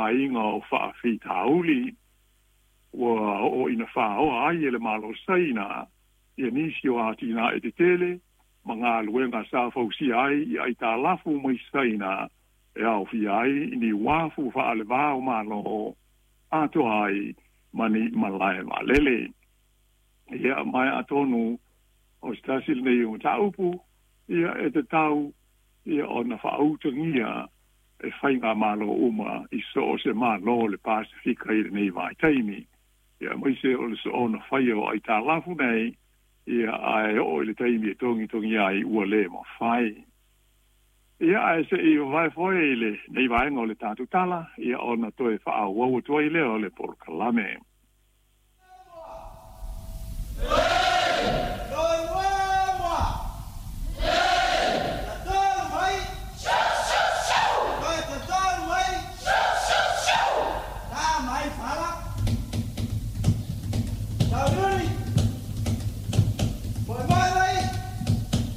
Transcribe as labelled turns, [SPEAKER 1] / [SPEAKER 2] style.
[SPEAKER 1] tamaoaiga o faafitauli. Ua oo ina faoa ai e le Malo Saina ia nisi o atinae tetele ma galuega sa fausia ai i aitalafu mai Saina e aofia ai ni uafu faalevā o Malo atoa ai ma ni malae vaalele. Ia ma atonu o se tasi lenei o mataupu ia e tatau ia ona faautagia e faigamalo uma i so o se malo o le Pasefika i lenei vaitaimi. Ia aemaise o le soona faia o aitalafu nei, ia ae oo i le taimi e togitogi ai ua le mafai. Ia ae seʻi vavae foe i lenei vaega o le tatou tala, ia ona toe faaauau atu ai lea o le polokalame.